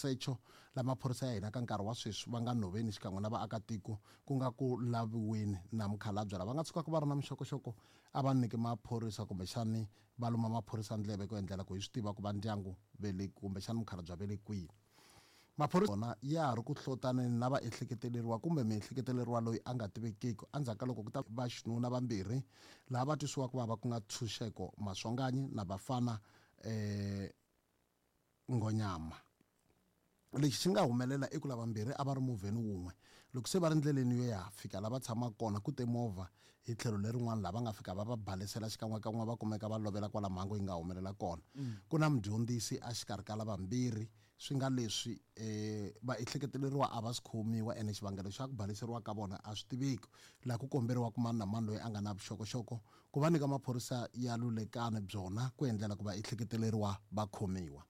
nsecho la maphorisa ya hina ka nkarhi wa sweswi va nga nhoveni xikan'we na vaakatiko ku nga ku laviweni na mukhalabye lava nga tshukaka va ri na mixokoxoko a va nyiki maphorisa kumbexani va luma maphorisa ndleve ku endlela ku hi swi tiva ku va ndyangu ve le kumbexani mukhalabye ve le kwihi. Maphorisa wona ya ha ri ku hlotaneni na vaehleketeleriwa kumbe muehleketeleriwa loyi a nga tivekiki endzhaku ka loko ku ta va xinuna vambirhi laha va twisiwaka ku vava ku nga Ntshunxeko Maswanganyi na Bafana Nghonyama. Lexi xi nga humelela i ku lavambirhi a va ri movheni wun'we. Loko se va ri ndleleni yo ya fika la va tshamaka kona ku te movha hi tlhelo lerin'wana laha va nga fika va va balesela xikan'wekan'we va kumeka va lovela kwala mhangu yi nga humelela kona. Ku na mudyondzisi exikarhi ka lavambirhi swi nga leswi vaehleketeleriwa a va si khomiwa ene xivangelo xa ku baleseriwa ka vona a swi tiveki. Laha ku komberiwaka mani na mani loyi a nga na vuxokoxoko ku va nyika maphorisa ya Lulekani byona ku endlela ku vaehleketeleriwa va khomiwa.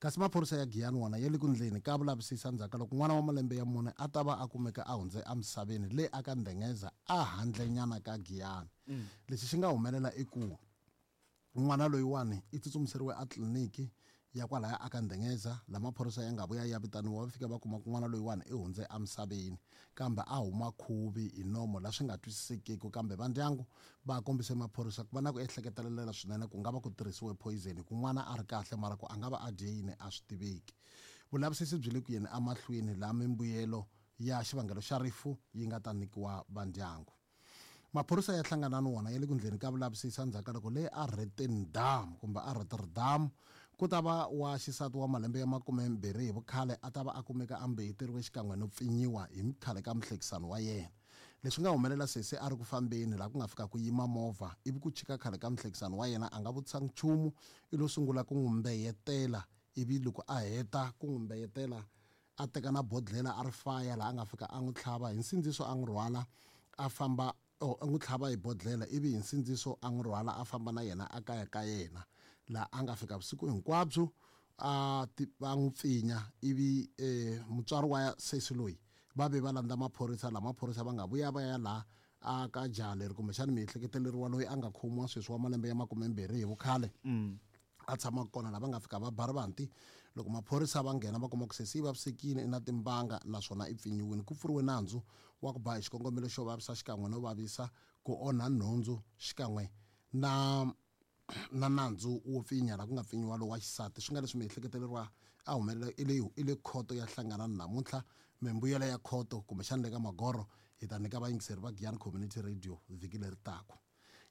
Kasi maphorisa ya Giyani wona ya le ku ndleni ka vulavisisi endzhaku ka loko n'wana wa malembe ya mune a ta va a kumeka a hundze emisaveni le aka Ndengeza a handlenyana ka Giyani. Lexi xi nga humelela i ku n'wana loyiwani i tsutsumiseriwe a tliliniki ya kwalaya aka Ndengeza la maphorisa ya nga vuya ya vitaniwa va fika va kuma ku n'wana loyiwani i hundze emisaveni kambe a huma khuvi hi nomo la swi nga twisisekeki kambe va ndyangu va kombise maphorisa ku va na ku ehleketelela swinene ku nga va ku tirhisiwe poison hi ku n'wana a ri kahle mara ku a nga va a dye yini a swi tiveki. Vulavisisi byi le ku yeni emahlweni laha mimbuyelo ya xivangelo xa rifu yi nga ta nyikiwa va ndyangu. Maphorisa ya Hlanganani wona ya le ku ndleni ka vulavisisi endzhaku ka loko le a Rotterdam kumbe a Rotterdam ku ta va wa xisati wa malembe ya 20 hi vukhale a ta va a kumeka a mbeyeteriwe xikan'we no pfinyiwa hi khale ka muhlekisani wa yena. Leswi nga humelela sesi a ri ku fambeni laha ku nga fika ku yima movha ivi ku chika khale ka muhlekisani wa yena a nga vutisangi nchumu i lo sungula ku n'wi mbeyetela ivi loko a heta ku n'wi mbeyetela a teka na bodlhela a ri faya laha a nga fika a n'wi tlhava hi nsindziso a n'wi rhwala a famba oh, a n'wi tlhava hi bodlhela ivi hi nsindziso a n'wi rhwala a famba na yena a kaya ka yena laha a nga fika vusiku hinkwabyo a va n'wi pfinya ivi mutswari wa sesi loyi va ve va landza maphorisa laha maphorisa va nga vuya va ya laha a ka jaha leri kumbexana miehleketeleriwa loyi a nga khomiwa sweswi wa malembe ya 20 hi vukhale a tshamaka kona laha va nga fika va ba rivanti loko maphorisa va nghena va kuma ku sesi yi vavisekile i na timbanga naswona i pfinyiwile ku pfuriwe nandzu wa ku ba hi xikongomelo xo vavisa xikan'we no vavisa ku onha nhundzu xikan'we na na nandzu wo pfinya laha ku nga pfinyiwa lowa xisati swi nga leswi miehleketeleriwa a humelela i le i le khoto ya Hlanganani namuntlha mimbuyelo ya khoto kumbexana le ka magoro hi ta nyika vayingiseri va Giyani Community Radio vhiki leri taka.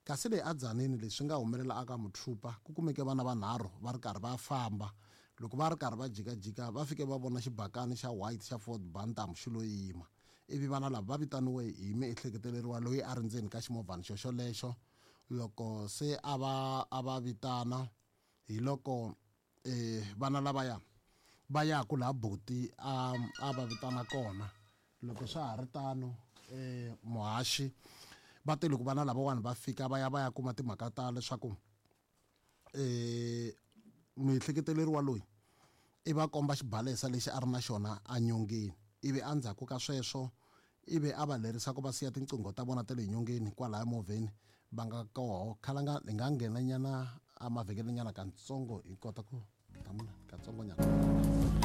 Kasi le aDzanini leswi swi nga humelela aka Muthupa ku kumeke vana vanharhu va ri karhi va famba. Loko va ri karhi va jikajika va fike va vona xibakani xa white xa Ford Bantam xi lo yima. Ivi vana lava va vitaniwe hi miehleketeleriwa loyi a ri ndzeni ka ximovhani xoxolexo. Loko se a va a va vitana hi loko vana lavaya va yaku laha buti a a va vitana kona. Loko swa ha ri tano muhaxi va te loko vana lavawani va fika va ya va ya kuma timhaka ta leswaku muehleketeleriwa loyi i va komba xibalesa lexi a ri na xona enyongeni ivi endzhaku ka sweswo ivi a va lerisa ku va siya tinqingho ta vona ta le nyongeni kwalaya movheni va nga koho khalanga hi nga nghena nyana emavhengeleni nyana katsongo hi kota ku hlamula katsongonyana.